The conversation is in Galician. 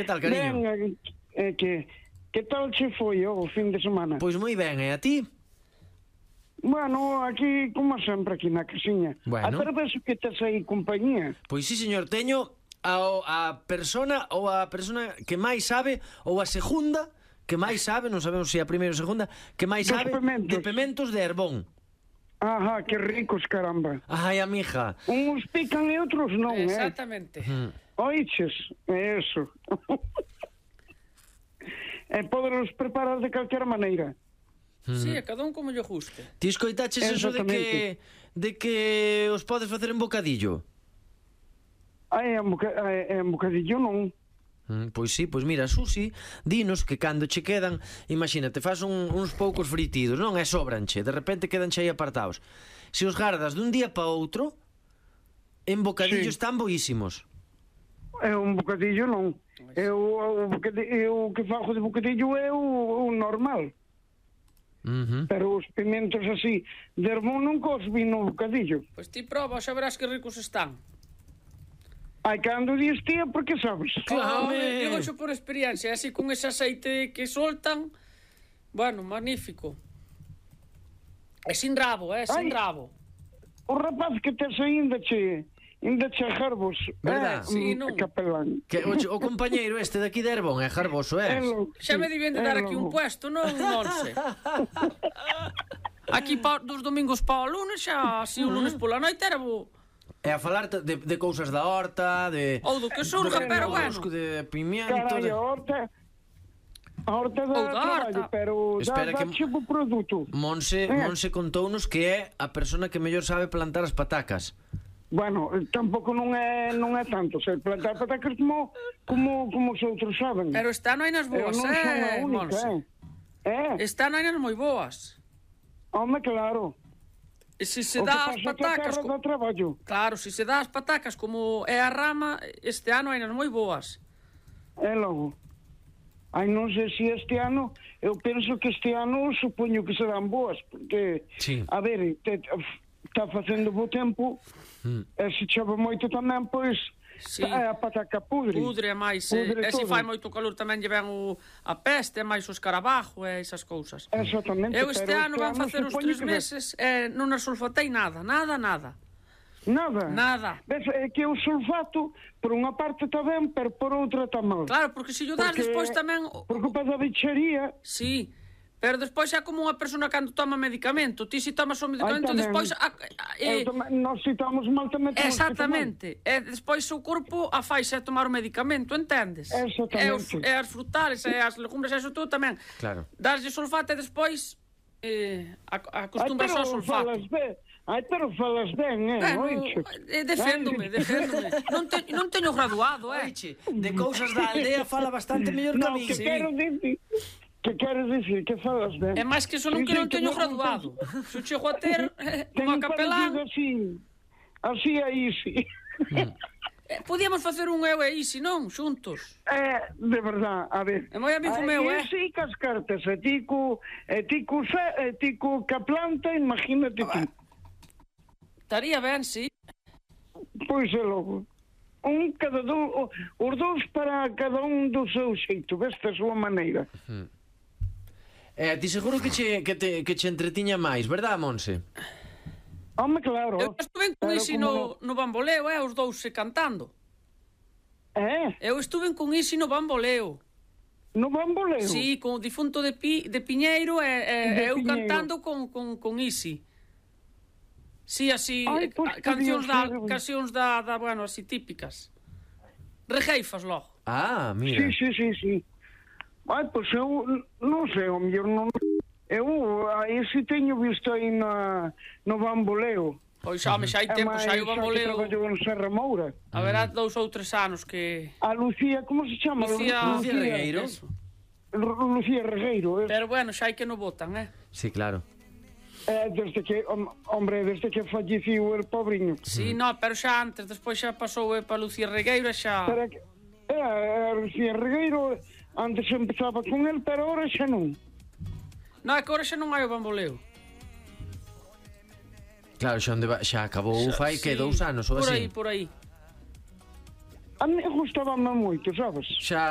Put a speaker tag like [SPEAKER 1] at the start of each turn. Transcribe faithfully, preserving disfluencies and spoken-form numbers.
[SPEAKER 1] Que tal, cariño?
[SPEAKER 2] Ben, eh, que, que tal che foi o fin de semana?
[SPEAKER 1] Pois moi ben, e a ti?
[SPEAKER 2] Bueno, aquí, como sempre, aquí na casiña.
[SPEAKER 1] Bueno.
[SPEAKER 2] A ver que tes aí compañía.
[SPEAKER 1] Pois sí, señor, teño a, a persona ou a persona que máis sabe, ou a segunda que máis sabe, non sabemos se a primeira ou segunda, que máis
[SPEAKER 2] Dos
[SPEAKER 1] sabe
[SPEAKER 2] pementos.
[SPEAKER 1] de pementos de Herbón.
[SPEAKER 2] Ajá, que ricos, caramba.
[SPEAKER 1] Ai, amiga.
[SPEAKER 2] Uns pican e outros non, eh?
[SPEAKER 3] Exactamente.
[SPEAKER 2] Oiches, é eso. E poderos preparar de calquera maneira.
[SPEAKER 3] Sí, a cada un como lle guste.
[SPEAKER 1] Ti escoitaches eso de que de que os podes facer en bocadillo?
[SPEAKER 2] Ai, en, boca, en bocadillo non.
[SPEAKER 1] Mm, pois sí, pois mira, Susi, dinos que cando che quedan, imagínate, faz un, uns poucos fritidos, non? E sobranche, de repente quedanche aí apartados. Se os gardas dun día para outro, en bocadillo
[SPEAKER 2] Sí.
[SPEAKER 1] están boísimos.
[SPEAKER 2] É un bocadillo non. Eu, o bocadillo, eu que fago de bocadillo é o, o normal.
[SPEAKER 1] Uh-huh.
[SPEAKER 2] Pero os pimentos así de Herbón nunca os vi no bocadillo.
[SPEAKER 3] Pois ti proba, xa verás que ricos están.
[SPEAKER 2] Ai, cando dis tía, porque sabes?
[SPEAKER 3] Claro, digo xo por experiencia, así con ese aceite que soltan, bueno, magnífico. É sin rabo, é sin
[SPEAKER 2] Ai.
[SPEAKER 3] rabo.
[SPEAKER 2] O rapaz que tes ainda che ainda che jarbos,
[SPEAKER 1] Verdad?
[SPEAKER 2] eh,
[SPEAKER 3] Sí,
[SPEAKER 2] mm,
[SPEAKER 3] non.
[SPEAKER 2] capelán.
[SPEAKER 1] Que o, o compañeiro este de aquí de Herbón é jarboso, é?
[SPEAKER 2] É lo-
[SPEAKER 3] Xa me
[SPEAKER 2] sí,
[SPEAKER 3] debían de
[SPEAKER 2] é
[SPEAKER 3] dar aquí un
[SPEAKER 2] logo.
[SPEAKER 3] puesto, non, Monse? Aquí pa, dos domingos para o lunes, xa, así o lunes pola noite era bo.
[SPEAKER 1] É a falar de, de cousas da horta, de...
[SPEAKER 3] Ou do que surja,
[SPEAKER 1] de
[SPEAKER 3] pero bueno.
[SPEAKER 1] repollo, de pimiento...
[SPEAKER 2] Carai,
[SPEAKER 1] de...
[SPEAKER 2] a horta a horta
[SPEAKER 3] Ou
[SPEAKER 2] dá
[SPEAKER 3] da
[SPEAKER 2] traballo,
[SPEAKER 3] horta.
[SPEAKER 2] pero dá,
[SPEAKER 1] Espera
[SPEAKER 2] dá
[SPEAKER 1] que-
[SPEAKER 2] tipo produto.
[SPEAKER 1] Monse,
[SPEAKER 2] Eh.
[SPEAKER 1] Monse contounos que é a persona que mellor sabe plantar as patacas.
[SPEAKER 2] Bueno, tampouco non é non é tanto, se plantar patacas como como como os outros saben.
[SPEAKER 3] Pero este ano hai nas
[SPEAKER 2] Eu
[SPEAKER 3] boas,
[SPEAKER 2] non son a
[SPEAKER 3] eh,
[SPEAKER 2] única,
[SPEAKER 3] Monse?
[SPEAKER 2] eh. Eh,
[SPEAKER 3] Este ano hai nas moi boas.
[SPEAKER 2] home, claro.
[SPEAKER 3] E se se
[SPEAKER 2] O que
[SPEAKER 3] dá as
[SPEAKER 2] pasa é que a
[SPEAKER 3] patacas...
[SPEAKER 2] terra
[SPEAKER 3] co-
[SPEAKER 2] dá traballo.
[SPEAKER 3] Claro, se se dá as patacas como é a rama, este ano hai nas moi boas.
[SPEAKER 2] É logo. Ai, non sei se este ano, eu penso que este ano supoño que serán boas, porque,
[SPEAKER 1] Sí.
[SPEAKER 2] a ver, te, está facendo bo tempo,
[SPEAKER 1] Mm.
[SPEAKER 2] e se chove moito tamén, pois,
[SPEAKER 3] Sí.
[SPEAKER 2] é a pataca pudre.
[SPEAKER 3] Pudre é máis, eh,
[SPEAKER 2] Pudre
[SPEAKER 3] e se
[SPEAKER 2] todo.
[SPEAKER 3] fai moito calor tamén lle ven o, a peste, é máis o escarabajo e esas cousas.
[SPEAKER 2] Exactamente.
[SPEAKER 3] Eu este
[SPEAKER 2] pero
[SPEAKER 3] ano van facer os
[SPEAKER 2] supoño
[SPEAKER 3] tres
[SPEAKER 2] que-
[SPEAKER 3] meses e non as sulfatei nada, nada, nada.
[SPEAKER 2] Nada.
[SPEAKER 3] Nada.
[SPEAKER 2] Ves, é que o sulfato, por unha parte está ben, pero por outra está mal.
[SPEAKER 3] Claro, porque se yo das
[SPEAKER 2] Porque-
[SPEAKER 3] despois tamén... o-
[SPEAKER 2] Por culpa da bicharía,
[SPEAKER 3] Sí, pero despois é como unha persona cando toma medicamento. Ti se tomas o medicamento,
[SPEAKER 2] tamén.
[SPEAKER 3] despois... A, a,
[SPEAKER 2] eu
[SPEAKER 3] e,
[SPEAKER 2] tome- nós si estamos mal tamén temos que tomar.
[SPEAKER 3] exactamente. E despois o corpo a faixe a tomar o medicamento, entendes?
[SPEAKER 2] Exactamente.
[SPEAKER 3] E, os, e as frutales, e as legumbres, e eso todo tamén.
[SPEAKER 1] Claro.
[SPEAKER 3] Daslle sulfato e despois eh, a- acostumbras ao sulfato.
[SPEAKER 2] falas ben. Ai, pero falas ben, eh,
[SPEAKER 3] Bueno,
[SPEAKER 2] oiche.
[SPEAKER 3] eh, deféndome,
[SPEAKER 2] Ai.
[SPEAKER 3] deféndome. Non, te, non teño graduado, eh.
[SPEAKER 1] Oiche, de cousas da aldea fala bastante mellor que a
[SPEAKER 2] No,
[SPEAKER 1] mí.
[SPEAKER 2] que
[SPEAKER 3] sí.
[SPEAKER 2] quero dicir, que queres dicir que falas ben.
[SPEAKER 3] É máis que eso non
[SPEAKER 2] Sí,
[SPEAKER 3] que
[SPEAKER 2] sí,
[SPEAKER 3] non teño
[SPEAKER 2] non-
[SPEAKER 3] graduado. Se o chego a ter eh,
[SPEAKER 2] Teño
[SPEAKER 3] unha capelán,
[SPEAKER 2] parecido así, así aí, sí.
[SPEAKER 3] eh, podíamos facer un eu e Isi, non? Xuntos.
[SPEAKER 2] Eh, de verdad, a ver.
[SPEAKER 3] É moi amigo meu, eh?
[SPEAKER 2] E si cas cartas, e ti co, e ti co, fe- e ti co ca planta, imagínate ti.
[SPEAKER 3] Estaría ben, sí.
[SPEAKER 2] Pois é logo. Un cada do, os dous para cada un do seu xeito, veste a súa maneira.
[SPEAKER 1] Eh, ti seguro que che, que te, que che entretiña máis, verdad, Monse?
[SPEAKER 2] Home, claro.
[SPEAKER 3] Eu estuve con
[SPEAKER 2] Pero
[SPEAKER 3] Isi
[SPEAKER 2] como
[SPEAKER 3] no, no bamboleo, eh? Os dous se cantando.
[SPEAKER 2] Eh,
[SPEAKER 3] Eu estuve con Isi no bamboleo.
[SPEAKER 2] no bamboleo.
[SPEAKER 3] Sí, con o difunto de, Pi, de Piñeiro e, e,
[SPEAKER 2] De
[SPEAKER 3] e eu
[SPEAKER 2] Piñeiro.
[SPEAKER 3] cantando con, con, con Isi. Sí, así,
[SPEAKER 2] Ai,
[SPEAKER 3] eh,
[SPEAKER 2] pois
[SPEAKER 3] a- cancións
[SPEAKER 2] podía
[SPEAKER 3] da,
[SPEAKER 2] ser.
[SPEAKER 3] cancións da, da, bueno, así típicas. Rejeifas logo.
[SPEAKER 1] Ah, mira.
[SPEAKER 2] Sí, sí, sí, sí. Ai, pois eu non sei, o mellor non. Eu aí si teño visto aí na, no bamboleo.
[SPEAKER 3] Pois, home, xa hai tempo, xa hai o bamboleo.
[SPEAKER 2] Traballou en Serra Moura.
[SPEAKER 3] A verá dous ou tres anos que...
[SPEAKER 2] A Lucía, como se chama?
[SPEAKER 3] Lucía,
[SPEAKER 1] Lucía Regueiro.
[SPEAKER 3] Eso.
[SPEAKER 2] Lu- Lucía Regueiro.
[SPEAKER 3] Pero bueno, xa hai que no votan, eh?
[SPEAKER 1] Sí, claro.
[SPEAKER 2] Eh, desde que, hom- hombre, desde que falleciu el pobriño.
[SPEAKER 3] Sí, no, pero xa antes, despois xa pasou eh, para Lucía Regueiro e xa...
[SPEAKER 2] Pero que, eh, a Lucía Regueiro antes empezaba con el, pero ahora xa non.
[SPEAKER 3] No, é que ahora xa non hai o bamboleo.
[SPEAKER 1] Claro, xa, onde va, xa acabou fai que
[SPEAKER 3] Sí,
[SPEAKER 1] dous anos ou
[SPEAKER 3] por
[SPEAKER 1] así.
[SPEAKER 3] aí, por aí.
[SPEAKER 2] A mí gustaba moito, sabes?
[SPEAKER 1] Xa